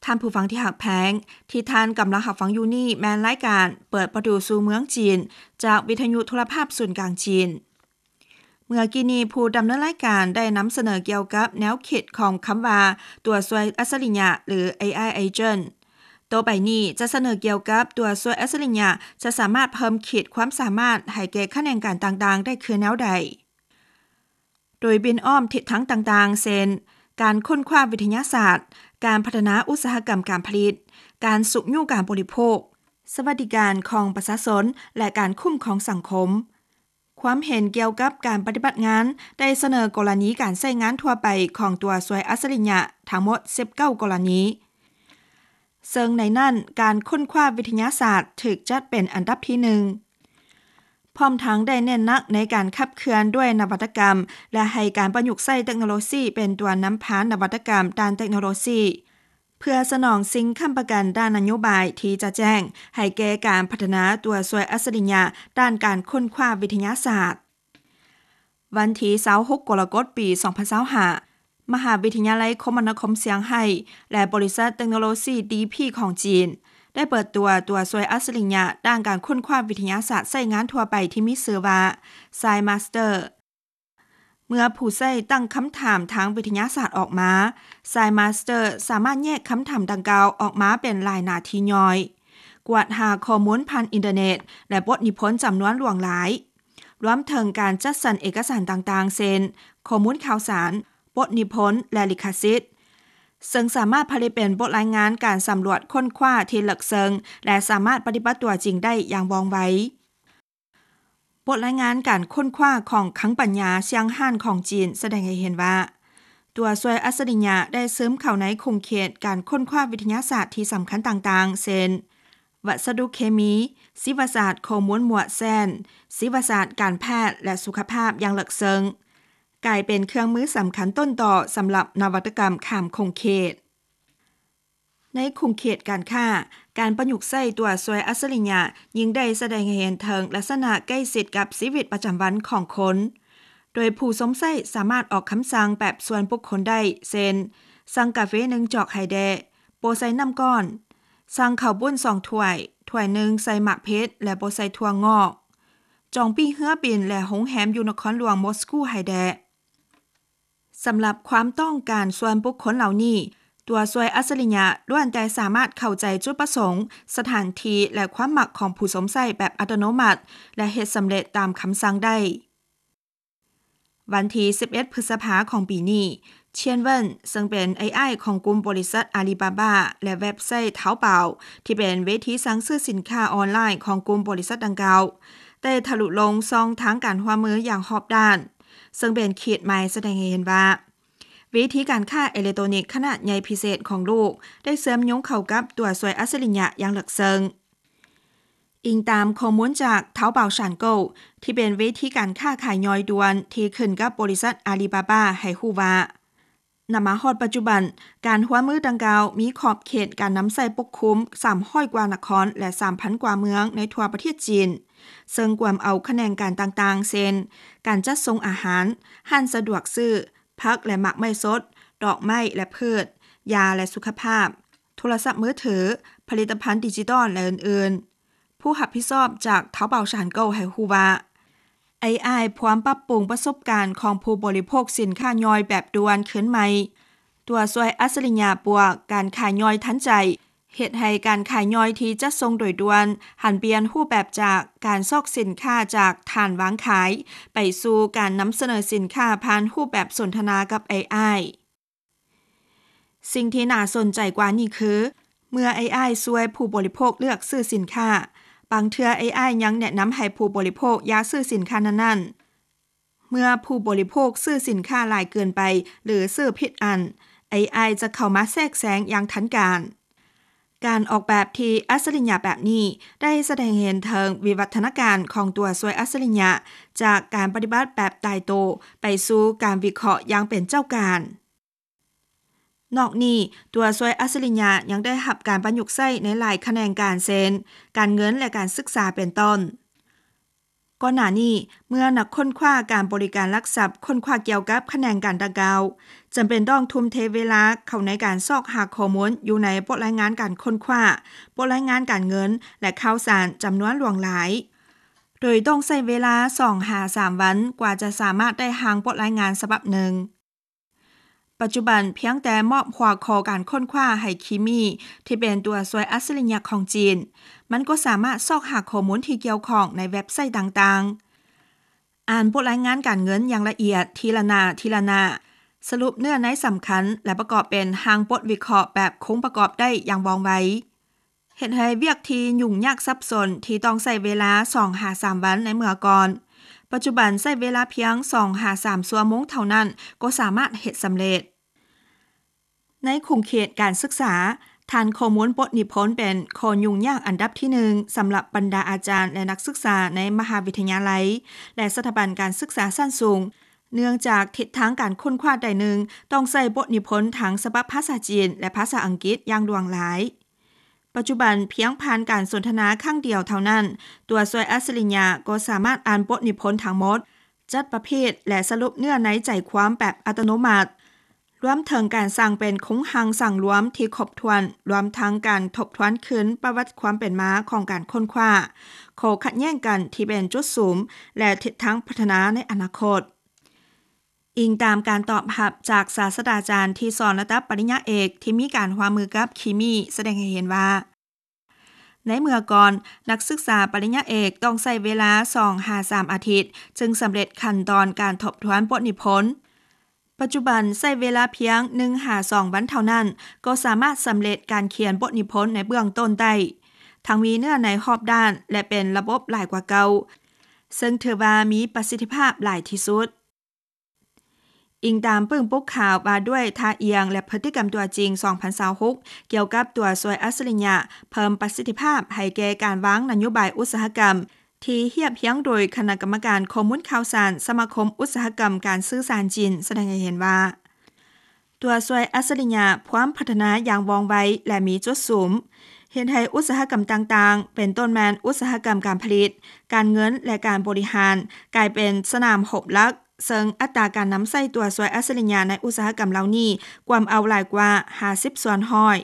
ທ່ານຜູ້ຟັງທີ່ຮັກແພງ, ທີ່ທ່ານກຳລັງຮັບຟັງຢູ່ນີ້ແມ່ນລາຍການເປີດປະຕູສູ່ເມືອງຈີນ ຈາກວິທະຍຸໂທລະພາບສູນກາງຈີນ. ເມື່ອກີ້ນີ້ຜູ້ດຳເນີນລາຍການໄດ້ນຳສະເໜີກ່ຽວກັບແນວຄິດຂອງຄຳວ່າຕົວຊ່ວຍອັດສະລິຍະ ຫຼື ເອໄອ agent. ຕໍ່ໄປນີ້ຈະສະເໜີກ່ຽວກັບຕົວຊ່ວຍອັດສະລິຍະ ຈະສາມາດເພີ່ມຂີດຄວາມສາມາດໃຫ້ແກ່ຂະແໜງການຕ່າງໆໄດ້ຄືແນວໃດ? ໂດຍບິນອ້ອມທິດທາງຕ່າງໆ ເຊັ່ນ ການຄົ້ນຄວ້າວິທະຍາສາດ, ການພັດທະນາອຸດສາຫະກຳການຜະລິດ, ການຊຸກຍູ້ການບໍລິໂພກ, ສະຫວັດດີການຂອງປະຊາຊົນ ແລະ ການຄຸ້ມຄອງສັງຄົມ. ຄວາມເຫັນກ່ຽວກັບການປະຕິບັດງານໄດ້ສະເໜີກໍລະນີການໃຊ້ງານທົ່ວໄປຂອງຕົວຊ່ວຍອັດສະລິຍະທັງໝົດສິບເກົ້າກໍລະນີ. ເຊິ່ງໃນນັ້ນການຄົ້ນຄວ້າວິທະຍາສາດຖືກຈັດເປັນອັນດັບທີໜຶ່ງ, ພ້ອມທັງໄດ້ເນັ້ນໜັກໃນການຂັບເຄື່ອນດ້ວຍນະວັດຕະກຳ ແລະ ໃຫ້ການປະຍຸກໃຊ້ເຕັກໂນໂລຊີເປັນຕົວນຳພານະວັດຕະກຳດ້ານເຕັກໂນໂລຊີ ເພື່ອສະໜອງສິ່ງຄ້ຳປະກັນດ້ານນະໂຍບາຍທີ່ຈະແຈ້ງໃຫ້ແກ່ການພັດທະນາຕົວຊ່ວຍອັດສະລິຍະດ້ານການຄົ້ນຄວ້າວິທະຍາສາດ. ວັນທີຊາວຫົກ ກໍລະກົດ ປີສອງພັນຊາວຫ້າ ມະຫາວິທະຍາໄລຄົມມະນາຄົມຊຽງໄຮ້ ແລະ ບໍລິສັດເຕັກໂນໂລຊີ ດີ ພີ ຂອງຈີນ ໄດ້ເປີດຕົວຕົວຊ່ວຍອັດສະລິຍະດ້ານການຄົ້ນຄວ້າວິທະຍາສາດໃຊ້ງານທົ່ວໄປທີ່ມີຊື່ວ່າ KineMaster. ເມື່ອຜູ້ໃຊ້ຕັ້ງຄຳຖາມທາງວິທະຍາສາດອອກມາ, KineMaster ສາມາດແຍກຄຳຖາມດັ່ງກ່າວອອກມາເປັນຫຼາຍໜ້າທີ່ຍ່ອຍ, ກວດຫາຂໍ້ມູນຜ່ານອິນເຕີເນັດ ແລະ ບົດນິພົນຈຳນວນຫຼວງຫຼາຍ, ລວມເຖິງການຈັດສັນເອກະສານຕ່າງໆ ເຊັ່ນ ຂໍ້ມູນຂ່າວສານ, ບົດນິພົນ ແລະ ລິຂະສິດ, ເຊິ່ງສາມາດຜະລິດເປັນບົດລາຍງານການສຳຫຼວດຄົ້ນຄວ້າທີ່ເລິກເຊິ່ງ ແລະ ສາມາດປະຕິບັດຕົວຈິງໄດ້ຢ່າງວ່ອງໄວ. ບົດລາຍງານການຄົ້ນຄວ້າຂອງຄັງປັນຍາຊຽງຮານຂອງຈີນສະແດງໃຫ້ເຫັນວ່າ ຕົວຊ່ວຍອັດສະລິຍະໄດ້ຊຶມເຂົ້າໃນຂົງເຂດການຄົ້ນຄວ້າວິທະຍາສາດທີ່ສຳຄັນຕ່າງໆ ເຊັ່ນ ວັດສະດຸເຄມີ, ຊີວະສາດຂໍ້ມູນໝວດແຊນ, ຊີວະສາດການແພດ ແລະ ສຸຂະພາບຢ່າງເລິກເຊິ່ງ, ກາຍເປັນເຄື່ອງມືສຳຄັນຕົ້ນຕໍສຳລັບນະວັດຕະກຳຂ້າມຂົງເຂດ. ໃນຂົງເຂດການຄ້າ, ການປະຍຸກໃຊ້ຕົວຊ່ວຍອັດສະລິຍະຍິ່ງໄດ້ສະແດງໃຫ້ເຫັນເຖິງລັກສະນະໃກ້ຊິດກັບຊີວິດປະຈຳວັນຂອງຄົນ, ໂດຍຜູ້ຊົມໃຊ້ສາມາດອອກຄຳສັ່ງແບບສ່ວນບຸກຄົນໄດ້, ເຊັ່ນ ສັ່ງກາເຟໜຶ່ງຈອກໃຫ້ແດ່, ບໍ່ໃສ່ນ້ຳກ້ອນ, ສັ່ງເຂົ້າປຸ້ນສອງຖ້ວຍ, ຖ້ວຍໜຶ່ງໃສ່ໝາກເຜັດ ແລະ ບໍ່ໃສ່ຖົ່ວງອກ, ຈອງປີ້ເຮືອບິນ ແລະ ໂຮງແຮມຢູ່ນະຄອນຫຼວງມົສກູໃຫ້ແດ່. ສຳລັບຄວາມຕ້ອງການສ່ວນບຸກຄົນເຫຼົ່ານີ້, ຕົວຊ່ວຍອັດສະລິຍະລ້ວນແຕ່ສາມາດເຂົ້າໃຈຈຸດປະສົງ, ສະຖານທີ່ ແລະ ຄວາມມັກຂອງຜູ້ຊົມໃຊ້ແບບອັດຕະໂນມັດ ແລະ ເຮັດສຳເລັດຕາມຄຳສັ່ງໄດ້. ວັນທີສິບເອັດ ພຶດສະພາຂອງປີນີ້, ເຊຍນເວິນ ເຊິ່ງເປັນເອໄອຂອງກຸ່ມບໍລິສັດອາລີບາບາ ແລະ ເວັບໄຊເທົາເປົ່າ ທີ່ເປັນເວທີສັ່ງຊື້ສິນຄ້າອອນລາຍຂອງກຸ່ມບໍລິສັດດັ່ງກ່າວ, ໄດ້ທະລຸລົງຊ່ອງທາງການຮ່ວມມືຢ່າງຮອບດ້ານ, ເຊິ່ງເປັນຂີດໝາຍສະແດງໃຫ້ເຫັນວ່າ ເວທີການຄ້າເອເລັກໂຕນິກຂະໜາດໃຫຍ່ພິເສດຂອງໂລກໄດ້ເຊື່ອມໂຍງເຂົ້າກັບຕົວຊ່ວຍອັດສະລິຍະຢ່າງເລິກເຊິ່ງ. ອີງຕາມຂໍ້ມູນຈາກ Taobao Shango ທີ່ເປັນເວທີການຄ້າຂາຍຍ່ອຍດ່ວນທີ່ຂຶ້ນກັບບໍລິສັດອາລີບາບາໃຫ້ຮູ້ວ່າ ນຳມາຮອດປັດຈຸບັນ, ການຮ່ວມມືດັ່ງກ່າວມີຂອບເຂດການນຳໃຊ້ປົກຄຸມສາມຮ້ອຍກວ່ານະຄອນ ແລະ ສາມພັນກວ່າເມືອງໃນທົ່ວປະເທດຈີນ, ເຊິ່ງກວມເອົາຂະແໜງການຕ່າງໆ ເຊັ່ນ ການຈັດສົ່ງອາຫານ, ຮ້ານສະດວກຊື້, ຜັກ ແລະ ໝາກໄມ້ສົດ, ດອກໄມ້ ແລະ ພືດ, ຢາ ແລະ ສຸຂະພາບ, ໂທລະສັບມືຖື, ຜະລິດຕະພັນດິຈິຕອນ ແລະ ອື່ນໆ. ຜູ້ຮັບຜິດຊອບຈາກ Taobao Shango ໃຫ້ຮູ້ວ່າ ເອໄອ ພວມປັບປຸງປະສົບການຂອງຜູ້ບໍລິໂພກສິນຄ້າຍ່ອຍແບບດ່ວນຄືນໃໝ່, ຕົວຊ່ວຍອັດສະລິຍະບວກການຂາຍຍ່ອຍທັນໃຈ ເຮັດໃຫ້ການຂາຍຍ່ອຍທີ່ຈັດສົ່ງໂດຍດ່ວນ ຫັນປ່ຽນຮູບແບບຈາກການຊອກສິນຄ້າຈາກຖານວາງຂາຍ ໄປສູ່ການນຳສະເໜີສິນຄ້າຜ່ານຮູບແບບສົນທະນາກັບເອໄອ. ສິ່ງທີ່ໜ້າສົນໃຈກວ່ານີ້ຄື ເມື່ອເອໄອຊ່ວຍຜູ້ບໍລິໂພກເລືອກຊື້ສິນຄ້າ, ບາງເທື່ອເອໄອຍັງແນະນຳໃຫ້ຜູ້ບໍລິໂພກຢ່າຊື້ສິນຄ້ານັ້ນໆ. ເມື່ອຜູ້ບໍລິໂພກຊື້ສິນຄ້າຫຼາຍເກີນໄປ ຫຼື ຊື້ຜິດອັນ, ເອໄອຈະເຂົ້າມາແຊກແຊງຢ່າງທັນການ. ການອອກແບບທີ່ອັດສະລິຍະແບບນີ້ ໄດ້ສະແດງໃຫ້ເຫັນເຖິງວິວັດທະນາການຂອງຕົວຊ່ວຍອັດສະລິຍະ ຈາກການປະຕິບັດແບບຕາຍໂຕ ໄປສູ່ການວິເຄາະຢ່າງເປັນເຈົ້າການ. ນອກນີ້, ຕົວຊ່ວຍອັດສະລິຍະຍັງໄດ້ຮັບການປະຍຸກໃຊ້ໃນຫຼາຍຂະແໜງການ ເຊັ່ນ ການເງິນ ແລະ ການສຶກສາ ເປັນຕົ້ນ. ກ່ອນໜ້ານີ້ ເມື່ອນັກຄົ້ນຄວ້າການບໍລິການຫຼັກຊັບຄົ້ນຄວ້າກ່ຽວກັບຂະແໜງການດັ່ງກ່າວ, ຈຳເປັນຕ້ອງທຸ່ມເທເວລາເຂົ້າໃນການຊອກຫາຂໍ້ມູນຢູ່ໃນບົດລາຍງານການຄົ້ນຄວ້າ, ບົດລາຍງານການເງິນ ແລະ ຂ່າວສານຈຳນວນຫຼວງຫຼາຍ, ໂດຍຕ້ອງໃຊ້ເວລາສອງຫາສາມວັນກວ່າຈະສາມາດໄດ້ຮ່າງບົດລາຍງານສະບັບໜຶ່ງ. ປັດຈຸບັນພຽງແຕ່ມອບຫົວຂໍ້ການຄົ້ນຄວ້າໃຫ້ຄີມີ ທີ່ເປັນຕົວຊ່ວຍອັດສະລິຍະຂອງຈີນ, ມັນກໍສາມາດຊອກຫາຂໍ້ມູນທີ່ກ່ຽວຂ້ອງໃນເວັບໄຊຕ່າງໆ, ອ່ານບົດລາຍງານການເງິນຢ່າງລະອຽດທີລະໜ້າທີລະໜ້າ, ສະຫຼຸບເນື້ອໃນສຳຄັນ ແລະ ປະກອບເປັນຮ່າງບົດວິເຄາະແບບຄົງປະກອບໄດ້ຢ່າງວ່ອງໄວ. ເຮັດໃຫ້ວຽກທີ່ຫຍຸ້ງຍາກສັບສົນທີ່ຕ້ອງໃຊ້ເວລາສອງຫາສາມວັນໃນເມື່ອກ່ອນ, ປັດຈຸບັນໃຊ້ເວລາພຽງສອງຫາສາມຊົ່ວໂມງເທົ່ານັ້ນກໍສາມາດເຮັດສຳເລັດ. ໃນຂົງເຂດການສຶກສາ, ຖານຂໍ້ມູນບົດນິພົນເປັນຂໍ້ຫຍຸ້ງຍາກອັນດັບທີໜຶ່ງສຳລັບບັນດາອາຈານ ແລະ ນັກສຶກສາໃນມະຫາວິທະຍາໄລ ແລະ ສະຖາບັນການສຶກສາຊັ້ນສູງ, ເນື່ອງຈາກທິດທາງການຄົ້ນຄວ້າໃດໜຶ່ງຕ້ອງໃຊ້ບົດນິພົນທັງສະບັບພາສາຈີນ ແລະ ພາສາອັງກິດຢ່າງຫຼວງຫຼາຍ. ປັດຈຸບັນພຽງຜ່ານການສົນທະນາຄັ້ງດຽວເທົ່ານັ້ນ, ຕົວຊ່ວຍອັດສະລິຍະກໍສາມາດອ່ານບົດນິພົນທັງໝົດ, ຈັດປະເພດ ແລະ ສະຫຼຸບເນື້ອໃນໃຈຄວາມແບບອັດຕະໂນມັດ, ລວມເຖິງການສ້າງເປັນໂຄງຮ່າງສັງລວມທີ່ຄົບຖ້ວນ, ລວມທັງການທົບທວນຄືນປະຫວັດຄວາມເປັນມາຂອງການຄົ້ນຄວ້າ, ຂໍ້ຂັດແຍ່ງກັນທີ່ເປັນຈຸດສຸມ ແລະ ທິດທາງພັດທະນາໃນອະນາຄົດ. ອີງຕາມການຕອບຮັບຈາກສາດສະດາຈານທີ່ສອນລະດັບປະລິນຍາເອກທີ່ມີການຮ່ວມມືກັບຄີມີ ສະແດງໃຫ້ເຫັນວ່າ ໃນເມື່ອກ່ອນ, ນັກສຶກສາປະລິນຍາເອກຕ້ອງໃຊ້ເວລາສອງຫາສາມອາທິດ ຈຶ່ງສຳເລັດຂັ້ນຕອນການທົບທວນບົດນິພົນ. ປັດຈຸບັນໃຊ້ເວລາພຽງໜຶ່ງຫາສອງວັນເທົ່ານັ້ນ ກໍສາມາດສຳເລັດການຂຽນບົດນິພົນໃນເບື້ອງຕົ້ນໄດ້, ທັງມີເນື້ອໃນຮອບດ້ານ ແລະ ເປັນລະບົບຫຼາຍກວ່າເກົ່າ, ເຊິ່ງຖືວ່າມີປະສິດທິພາບຫຼາຍທີ່ສຸດ. ອີງຕາມປຶ້ງປຸກຂ່າວວ່າດ້ວຍທ່າອ່ຽງ ແລະ ພຶດຕິກຳຕົວຈິງ ສອງພັນຊາວຫົກ ກ່ຽວກັບຕົວຊ່ວຍອັດສະລິຍະເພີ່ມປະສິດທິພາບໃຫ້ແກ່ການວາງນະໂຍບາຍອຸດສາຫະກຳ ທີ່ຮຽບຮຽງໂດຍຄະນະກຳມະການຂໍ້ມູນຂ່າວສານສະມາຄົມອຸດສາຫະກຳການສື່ສານຈີນ ສະແດງໃຫ້ເຫັນວ່າ ຕົວຊ່ວຍອັດສະລິຍະພວມພັດທະນາຢ່າງວ່ອງໄວ ແລະ ມີຈຸດສຸມ, ເຮັດໃຫ້ອຸດສາຫະກຳຕ່າງໆ ເປັນຕົ້ນແມ່ນອຸດສາຫະກຳການຜະລິດ, ການເງິນ ແລະ ການບໍລິຫານ ກາຍເປັນສະໜາມຮົບຫຼັກ, ເຊິ່ງອັດຕາການນຳໃຊ້ຕົວຊ່ວຍອັດສະລິຍະໃນອຸດສາຫະກຳເຫຼົ່ານີ້ ກວມເອົາຫຼາຍກວ່າຫ້າສິບສ່ວນຮ້ອຍ.